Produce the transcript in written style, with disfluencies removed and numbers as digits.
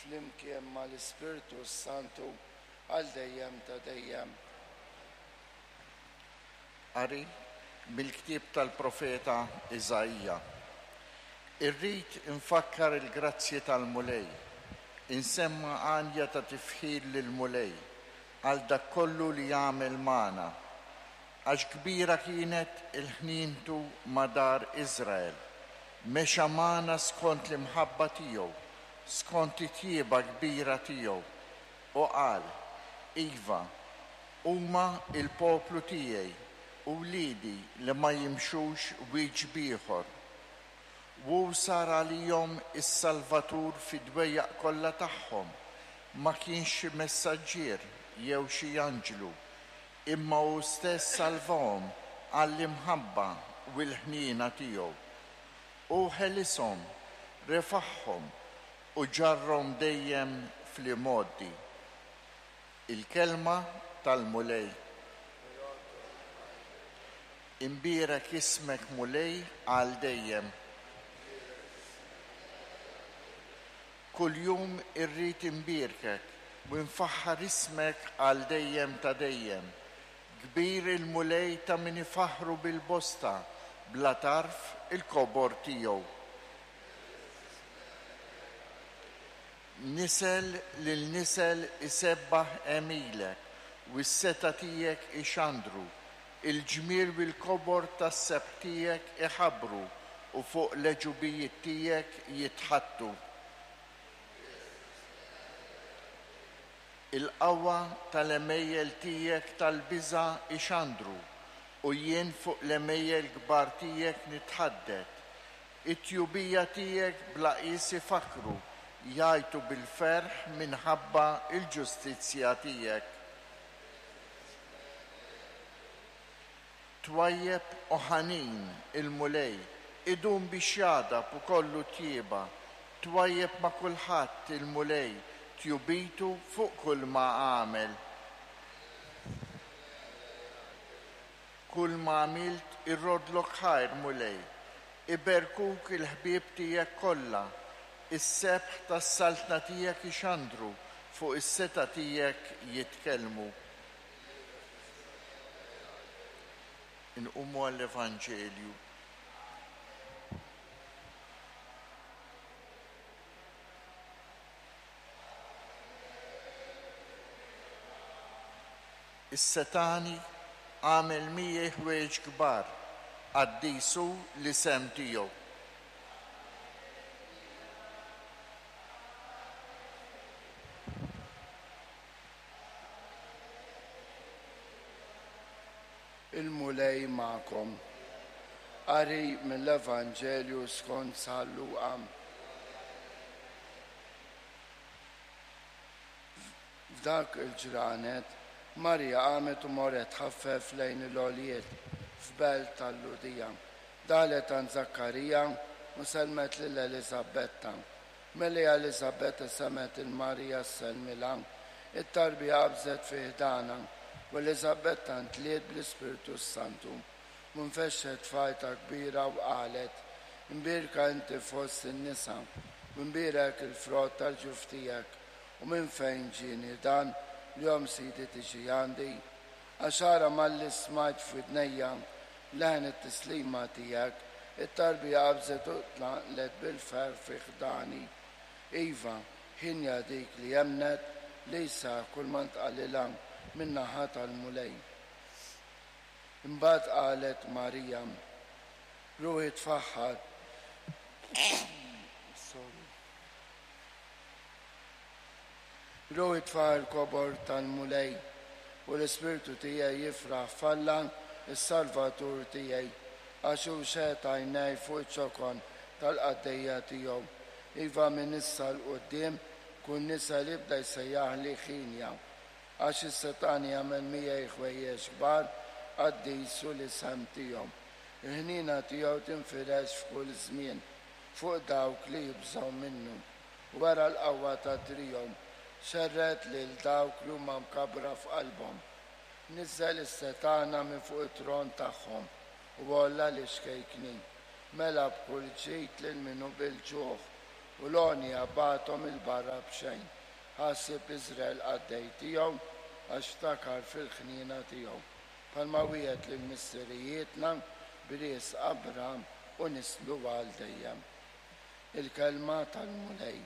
flimkien mal-Ispirtu s-Santu għal dejjem ta' dejjem. Qari mill-ktieb tal-profeta Iżaija. Irrid infakkar il-grazzji tal-Mulej, insemma' għanja ta' tifħir lill-Mulej għal dak kollu li għamel magħna. Għax kbira kienet il-ħnientu ma' dar Iżrael, mexa magħna skont l-imħabba tiegħu, skont it-tjieba kbira tiegħu. U qal, Iva, huma l-poplu tiegħi, u wliedi li ma jimxux wiċċ b'ieħor. Hu sar għalihom is-Salvatur fid-dwejjaq kollha tagħhom, ma kienx xi messaġġier jew xi anġlu, imma hu stess salvahom għall-imħabba u l-ħniena tiegħu. Hu ħelishom, refagħhom u ġarrhom dejjem fl-imgħoddi. Il-Kelma tal-Mulej. Imbierek ismek Mulej għal dejjem. Kuljum irrid inbierkek u nfaħħar ismek għal dejjem ta' dejjem. Kbir il-Mulej ta' min ifaħħru bil-bosta, bla tarf il-kobor tiegħu. Nisel lil nisel isebbaħ għemilek u s-setgħa tiegħek ixandru. Il-ġmiel u l-kobor tas-sebħ tiegħek iħabbru u fuq l-għeġubijiet tiegħek jitħaddtu. Il-qawwa tal-għemejjel tiegħek tal-biża' ixandru, u jien fuq l-għemejjel kbar tiegħek nitħaddet. It-tjubija tiegħek bla qies ifakkru, jgħajtu bil-ferħ minħabba l-ġustizzja tiegħek. Twajjeb u ħanin il-Mulej, idum biex jagħdab u kollu tjieba. Twajjeb ma' kulħadd il-Mulej, tjubitu fuq kulma għamel. Kulma għamilt irroddlok ħajr, Mulej. Iberkuk il-ħbieb tiegħek kollha. Is-sebħ tas-saltna tiegħek ixandru, fuq is-setgħa tiegħek jitkellmu. Inqumu għall-Evanġelju. Is-Setgħani għamel miegħi ħwejjeġ kbar, qaddis hu l-isem tiegħu. Il-Mulej magħkom. Qari mill-Evanġelju skont San Luqa. F'dak il-ġranet, Marija qamet u marret tħaffef lejn il-għoljiet f'belt tal-Lhudija. Daħlet għand Żakkarija u sellmet lil Eliżabetta. Malli Eliżabetta semgħet 'il Marija ssellmilha, it-tarbija qabżet fi ħdanha, u Eliżabetta ntliet bl-Ispirtu s-Santu. U nfexxet f'għajta kbira u qalet, Imbierka inti fost in-nisa, u imbierek il-frott tal-ġuf tiegħek. U minn fejn ġieni dan, li omm Sidi tiġi għandi? Għax ara malli smajt f'widnejja leħen it-tislima tiegħek, it-tarbija qabżet u tlanqlet bil-ferħ fi ħdani. Iva, hienja dik li emmnet li jseħħ kulma ntqalilha min-naħa tal-Mulej. Imbagħad qalet Marija, Ruħi tfaħħar. Sorry. Ruħi tfaħħar il-kobor tal-Mulej, u l-ispirtu tiegħi jifraħ f'Alla, is-Salvatur tiegħi, għax hu xeħet għajnejh fuq iċ-ċokon tal-qaddejja tiegħu. Iva, minn issa 'l quddiem kull nisel jibda jsejjaħli hienja, għax is-Setgħani għamel miegħi ħwejjeġ kbar, qaddis hu l-isem tiegħu. Il-ħniena tiegħu tinfirex f'kull żmien fuq dawk li jibżgħu minnu. Wera l-qawwa ta' driegħu, xerred lil dawk li huma mkabbra f'qalbhom. Niżżel is-setgħana minn fuq it-tron tagħhom u għolla lix-xkejknin. Mela b'kull ġid lil min hu bil-ġuħ. U l-għonja bagħathom 'il barra b'xejn. Ħa ħsieb Iżrael qaddej tiegħu, għax ftakar fil-ħniena tiegħu, bħalma wiegħed lil missirijietna b'riżq Abraham u nislu għal dejjem. Il-Kelma tal-Mulej.